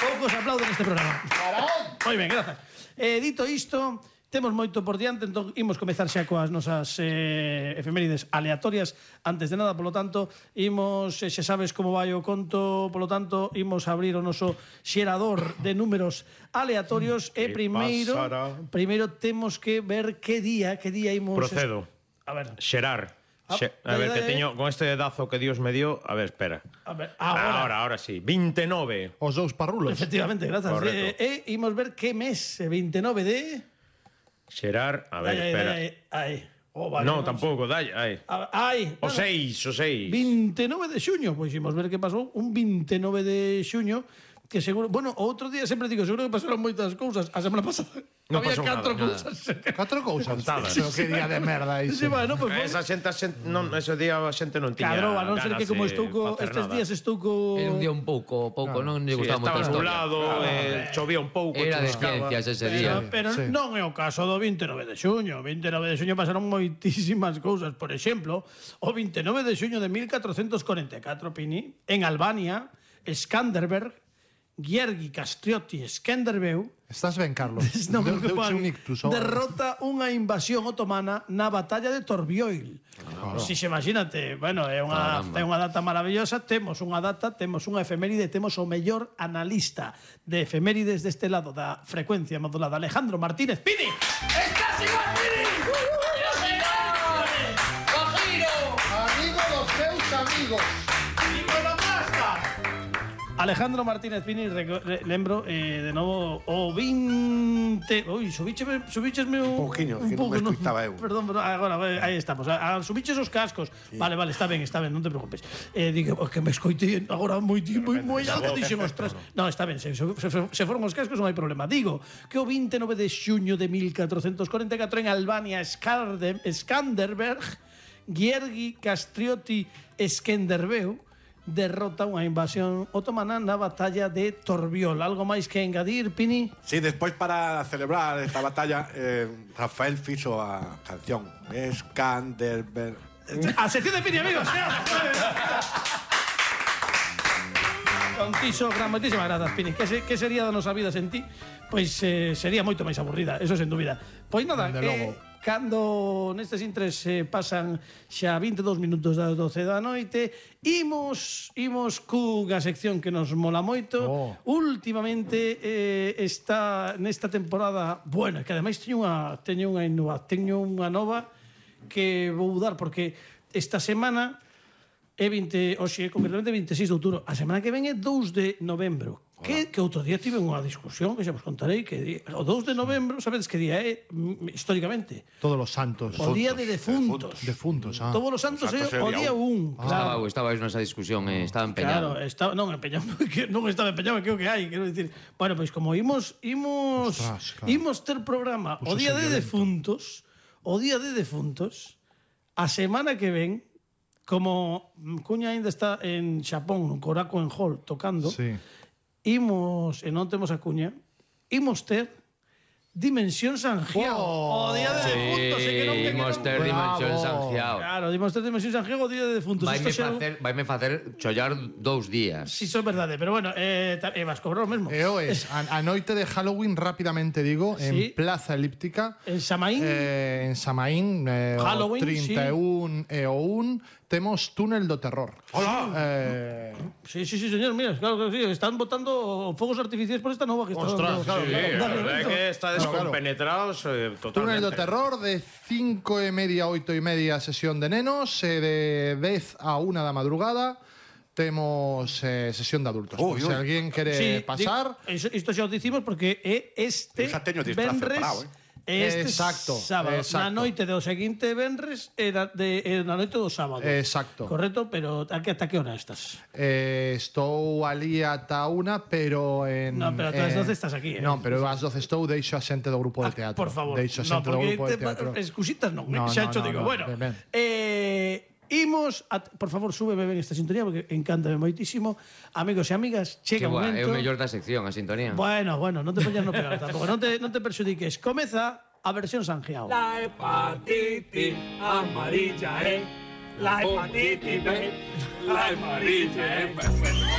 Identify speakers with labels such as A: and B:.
A: Poucos aplauden neste programa. Moi ben, grazas. Dito isto, temos moito por diante, entón imos comezar xa coas nosas efemérides aleatorias. Antes de nada, polo tanto, imos, xa sabes como vai o conto, polo tanto, imos abrir o noso xerador de números aleatorios e primeiro temos que ver que día imos...
B: Procedo.
A: A ver.
B: Xerar. A ver, que teño con este dazo que Dios me dio. A ver, espera.
A: A ver, ahora
B: sí. 29.
C: Os dous parrulos.
A: Efectivamente, grazas. Imos ver que mes, 29 de...
B: Xerar, a ver, espera.
A: Vale,
B: no, tampouco, dai. O 6.
A: 29 de xuño, pois imos ver que pasou un 29 de xuño, que seguro, bueno, outro día sempre digo, seguro que pasaron moitas cousas. A semana pasada
B: non
A: había
B: pasou
A: 4 cousas.
C: 4 cousas. Pero que día de merda iso.
A: Sí, bueno, pues,
B: esa xente non, ese día a xente non tiña
A: Cadro, a non ser que como estou estes días estou
D: Era un día un pouco, non lle gustaba moito a
B: historia.
D: historia.
B: Estaba nublado, chovía un pouco.
D: Era de ciencias ese día.
A: Pero non é o caso do 29 de xuño. 29 de xuño pasaron moitísimas cousas. Por exemplo, o 29 de xuño de 1444, Pini, en Albania, Skanderberg, Giergi Castrioti Skenderbeu.
C: Estás ben, Carlos.
A: Derrota unha invasión otomana na batalla de Torbioil. Si se imagínate, bueno, é unha data maravillosa. Temos unha efeméride, temos o mellor analista de efemérides deste lado da frecuencia modulada, Alejandro Martínez Pini. Estás igual, Pini.
E: Amigo dos seus amigos.
A: Alejandro Martínez Pini, lembro de novo o 20... Ui, subichesme un
E: pouquiño, que non me escuitaba eu.
A: Perdón, agora, aí estamos. Subiches os cascos. Sí. Vale, está ben, non te preocupes. Digo, que me escoitei agora moi alto, dixen, ostras. Non, está ben, se foron os cascos non hai problema. Digo que o 29 de xuño de 1444 en Albania, Skanderberg, Giergi Castrioti Skenderbeu derrota unha invasión otomana na batalla de Torbiol. Algo máis que engadir, Pini?
E: Sí, despois para celebrar esta batalla, Rafael fixo a canción Skanderberg.
A: A sección de Pini, amigos. Contiso, gran moitísimas grazas, Pini. Que sería da nosa vida sen ti? Pois sería moito máis aburrida, eso sen dúbida. Pois nada, cando nestes intres pasan xa 22 minutos das 12 da noite, imos cunha sección que nos mola moito. Últimamente está nesta temporada, bueno, que ademais teño unha nova que vou dar, porque esta semana é concretamente 26 de outubro. A semana que ven é 2 de novembro. Que outro día tive unha discusión que xa vos contarei, que o 2 de novembro, sabedes que día é históricamente?
C: Todos os santos.
A: O día de defuntos. Todos os santos é o día 1.
D: Estaba nesa discusión, estaba empeñado.
A: Claro, non estaba empeñado, que o que hai, quero dicir. Bueno, pois como imos ter programa o día de defuntos, a semana que ven, como Cuña ainda está en Xapón, no Korakuen Hall, tocando, imos, e non temos a Cuña, imos ter Dimensión Sanjiao. O día de defuntos.
D: Imos ter Dimensión Sanjiao.
A: Claro, imos ter Dimensión Sanjiao o día de defuntos.
D: Vaime facer chollar 2 días.
A: Si, son verdade, pero bueno, vas cobrar o mesmo.
C: A noite de Halloween, rapidamente digo, en Plaza Elíptica.
A: En Samaín.
C: En Samaín,
A: Halloween,
C: 31 e o 1. Temos Túnel do Terror.
E: Hola.
A: Sí, señor, mira, claro que sí, están botando fogos artificiales por esta nova que está
B: dando. Ostras, sí, a verdade é que está descompenetrados totalmente.
C: Túnel do Terror de 5:30 a 8:30 sesión de nenos, de 10 a 1 da madrugada temos sesión de adultos. Se alguén quere pasar...
A: Isto xa o dicimos porque é este venres...
C: Exacto,
A: sábado, na noite do seguinte venres era na noite do sábado.
C: Exacto.
A: Correcto, pero ata que hora estás?
C: Estou ali ata 1, pero
A: Non, pero ás 12 estás aquí.
C: Non, pero ás 12 estou, deixo a xente do grupo de teatro.
A: Por favor.
C: Deixo a xente do grupo de teatro.
A: Excusitas non, xa cho digo. Bueno, imos, por favor, súbeme ben esta sintonía porque encántame moitísimo. Amigos e amigas, chega o momento.
D: É o mellor da sección, a sintonía.
A: Bueno, non te poñas no pegar tampouco, non te perxudiques. Comeza a versión Sanjiao.
F: La hepatitis amarilla, la hepatitis B, la amarilla,